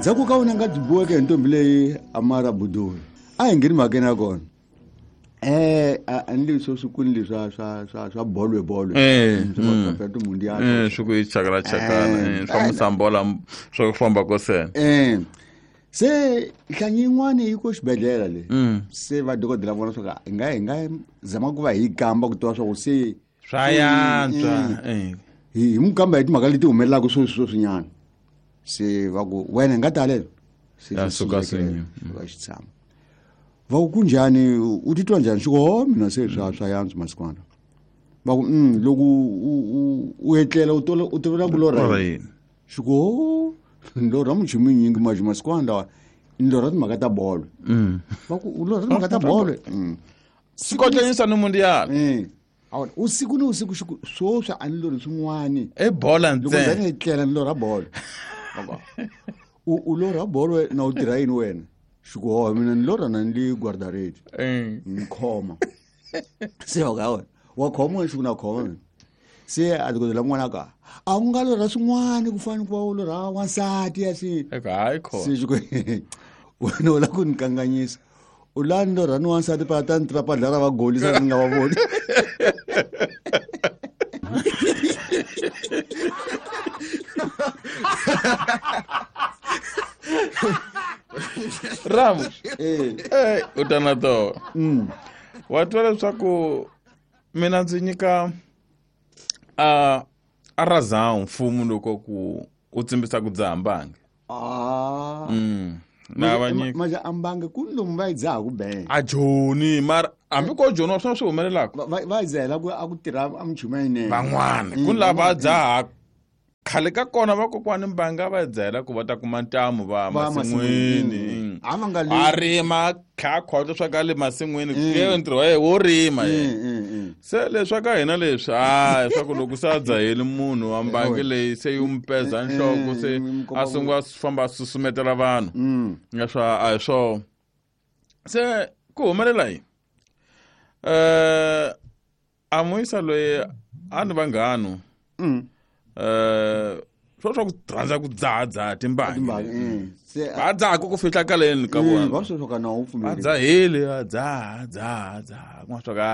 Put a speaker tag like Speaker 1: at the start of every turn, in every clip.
Speaker 1: Ndzhaku ka wena nga byi boheke hi ntombi leyi Amara Budula. A hi ngheni mhakeni ya kona. A ni leswi swi kuni leswi swa bolwe bolwe. Swa timundial.
Speaker 2: Swi ku yi chakala chakala, swa musambola swa ku famba ko sena.
Speaker 1: Se nhlanyi yin'wana yi ko xibedhlele le. Se va dokodela vona swa ku hi nga zama ku va hi kamba ku tiva swa ku se
Speaker 2: swa yantswa.
Speaker 1: Hi n'wi kamba hi timhaka leti humelelaka sweswinyana. Se va ku wena hi nga talela. Se
Speaker 2: Ya suka swinye.
Speaker 1: Va xi tshama. Va ku kunjhani, u titwa njhani? Xi ku ho mina se swa yantswa masikwana. Va ku loko u etlela u tolovela ku lorha
Speaker 2: yini?
Speaker 1: Xi ku ho ni lorha minchumu yinyingi manje masikwana lawa ni lorha timhaka ta bolo. Va ku u lorha timhaka ta bolo.
Speaker 2: Swikotlanyisa ni mundial.
Speaker 1: Awona, usiku ni usiku xi ku swoswi a ni lorhi swin'wani.
Speaker 2: I bola
Speaker 1: Loko
Speaker 2: ntsena.
Speaker 1: ndzani ni etlela ni lorha bolo. U lorha bolo na u tirha yini wena? Xi ku ho mina ni lorha na ni li guardaredi. Ni khoma. Se wa ka wena. Wa khoma wena xi ku na khoma mina. Se a dokodela n'wana ka a wu nga lorha swin'wana ku fana ku va u lorha wansati ya xi.
Speaker 2: Eka hayi khona.
Speaker 1: Se xi ku wena u lava ku ni kanganyisa. U la ni lorha ni wansati pa ta ni tiva padla ra va golisa ni nga va voni.
Speaker 2: Ram. U ta na to. Wa twa leswaku mina ndzi nyika a razao mfumo loko ku u tsimbisa ku dzaha mbangi. Na va nyika.
Speaker 1: Manje a mbangi ku lomu va yi dzaha ku bela.
Speaker 2: A joni mara hambi ko joni wa swona swi humelelaka.
Speaker 1: Va yi dzahela ku a ku tirha a minchumu yinene.
Speaker 2: Van'wana ku lava dzaha khale ka kona vakokwani mbanga va dzahela ku va ta kuma ntamu va
Speaker 1: Va
Speaker 2: masin'wini.
Speaker 1: masin'wini. A va nga le-
Speaker 2: A rima kha khotlo swa ka le masin'wini, ke ntirho wa yena wo rima yena. Se leswi ka hina leswi, a swa ku loko se a dzaheli munhu wa mbangi leyi se yi n'wi peza nhloko, se a sungula a famba a susumetela vanhu. Nga swa a hi swona. Se ku humelela yini? A muyisa loyi a ni vanghanu. Swo swa ku rhandza ku dzahadzaha timbangi.
Speaker 1: Timbangi, Se
Speaker 2: Va dzaha ku fihla kaleni ka vona.
Speaker 1: Va swi swa ka na wu pfumeli.
Speaker 2: Va dzahile, va dzaha, dzaha, dzaha. Ku nga swa ka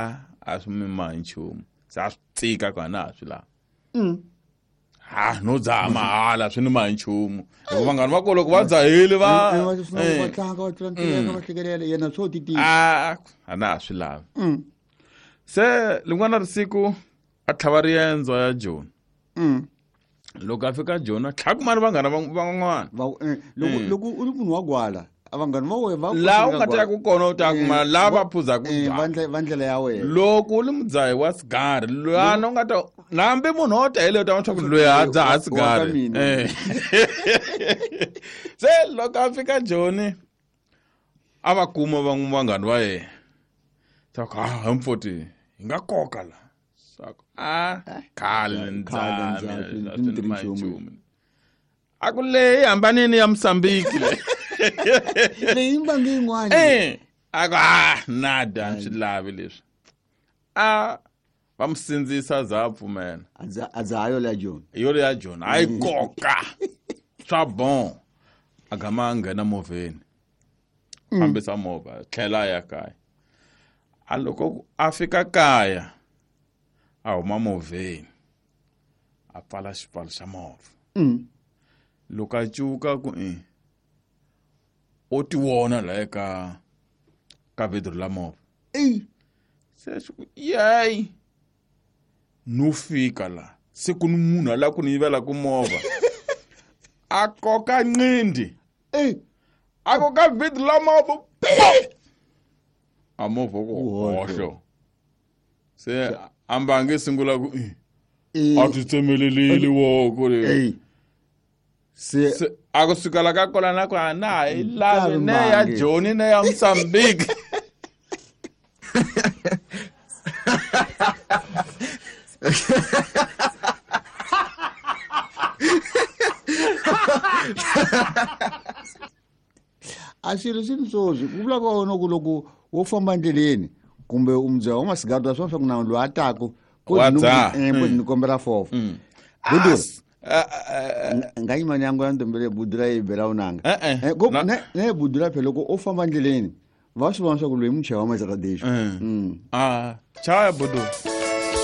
Speaker 2: a swi mi mahi nchumu. Se a swi tika ku a na ha swi lavi. Ha, no dzaha mahala swi ni mahi nchumu. Hikuva vanghani va kona loko va dzahile va
Speaker 1: Va swi va tlanga, va tlula ntileka, va hlekelela, yena swo titika.
Speaker 2: A na ha swi lavi. Se lin'wana risiku a tlhava riendzo ya Joni. Loko a fika Joni a tlhava kumana vanghana van'wana.
Speaker 1: Loko u ri munhu wa gwala, a vanghana va wena va
Speaker 2: Laha u
Speaker 1: ku
Speaker 2: nga ta ya ku kona u ta kuma laha va phuzaka byalwa.
Speaker 1: Va ndlela ya wena.
Speaker 2: Loko u ri mudzahi wa sigari, lwana u nga ta hambi munhu wo ta hi leyo ta vona leswaku loyi a dzaha
Speaker 1: Wa ka
Speaker 2: sigari.
Speaker 1: mina.
Speaker 2: Se loko a fika Joni a va kuma vanghana va yena. Swa ku, ha mfoti, hi nga koka la. Swa ku, khale ni
Speaker 1: Khale
Speaker 2: dzaha,
Speaker 1: ni dzaha,
Speaker 2: mina,
Speaker 1: swi
Speaker 2: swi
Speaker 1: ni
Speaker 2: ni
Speaker 1: tirhi
Speaker 2: mahi
Speaker 1: nchumu.
Speaker 2: nchumu. A ku leyi hambanini ya Mozambique le.
Speaker 1: Leyi mbangi yin'wana.
Speaker 2: A ku, nada, a swi lavi leswi. Va mu sindzisa za a pfumela.
Speaker 1: A dzaha yo leya Joni.
Speaker 2: Yo leya Joni, a yi koka. Swa bon. A gama a nghena movheni. Fambisa movha, tlhela a ya kaya. A loko a fika kaya, a huma movheni. A pfala xipfalo xa movha. Loko a cuka ku i, o ti vona la eka ka vhidro la movha. Se swi ku, yey, no fika la. Se ku ni munhu a lava ku ni yivela ku movha. A koka nqindi. A koka vhidro la movha. A movha ku hohlo. Se a mbangi sungula ku, a ti tsemelelile woko le.
Speaker 1: Se
Speaker 2: Se a ku suka la ka kona na ku a na ha yi lavi
Speaker 1: Lavi
Speaker 2: ne ya
Speaker 1: mbangi.
Speaker 2: Joni ne ya Mozambique.
Speaker 1: A swilo swi ni swoswi ku vula ka wona ku loko wo famba endleleni kumbe u mudzaha wa masigari ta swona swa ku na loyi a taku,
Speaker 2: Wa dzaha.
Speaker 1: ko ni kombela fofo. Gudu. Nga yima ni yangu ya ntombele budula yi bela unanga.
Speaker 2: Eh, eh.
Speaker 1: Eh, go-
Speaker 2: Na-
Speaker 1: ne ne budula phela loko u famba ndleleni va swi vona swa ku loyi muchaya wa majaradexo.
Speaker 2: Ah, chaya budu.